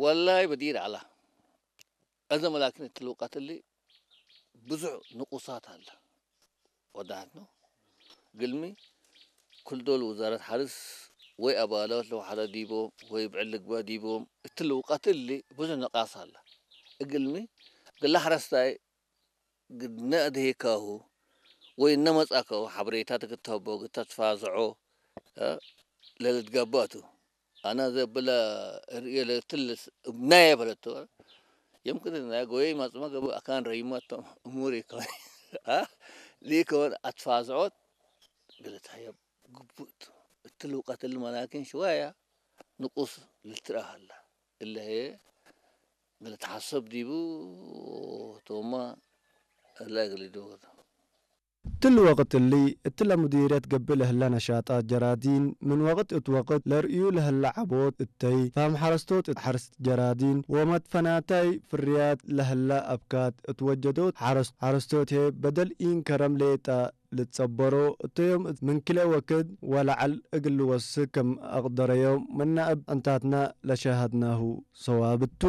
ወላይ በዲር ኣላ። እዘ መላኪን እትልውቃትሊ ብዙሕ ንቁሳት ኣለ። ወዳሃት ነው። ግልሚ ኩልዶል ውዛረት ሓርስ ወይ ኣባላት ለውሓዳ ዲቦም ወይ ብዕል ልግባ ዲቦም እትልውቃትሊ ብዙሕ ንቃስ ኣለ። እግልሚ ግላ ሓረስታይ ግድነ ኣድሄካሁ ወይ እነመጻካሁ ሓበሬታ ትክተቦ ግተትፋዝዖ ለልትጋባቱ ኣና ዘብለ ርእየ ለትልስ እብናየ በለቶ። የምክን ናይ ጎየይ ማጽማ ገቡ ኣካን ረይማቶም እሙር ይከውን። ሊከውን ኣትፋዝዖት ግልታየ ግቡት እትልውቀትል መላኪን ሽዋያ ንቁስ ልትረሃላ እለሄ ግልትሓሰብ ዲቡ ቶማ እላ ግልዱ። ትል ወቅት እሊ እትለ ሙዲርየት ገብእ ለህላ ነሻጣት ጀራዲን ምን ወቅት እት ወቅት ለርእዩ ለህላ ዓቦት እተይ ፋም ሓረስቶት እት ሓርስት ጀራዲን ወመትፈናታይ ፍርያት ለህላ ኣብካት እት ወጀዶት ሓረስቶት ሄ በደል ኢን ከረም ሌጣ ልትጸበሮ እተዮም ምን ክለ ወክድ ወለዓል እግል ልወስክ ከም ኣቅደረዮም ምናእብ ዕንታትና ለሸሃድናሁ ሰዋብቱ።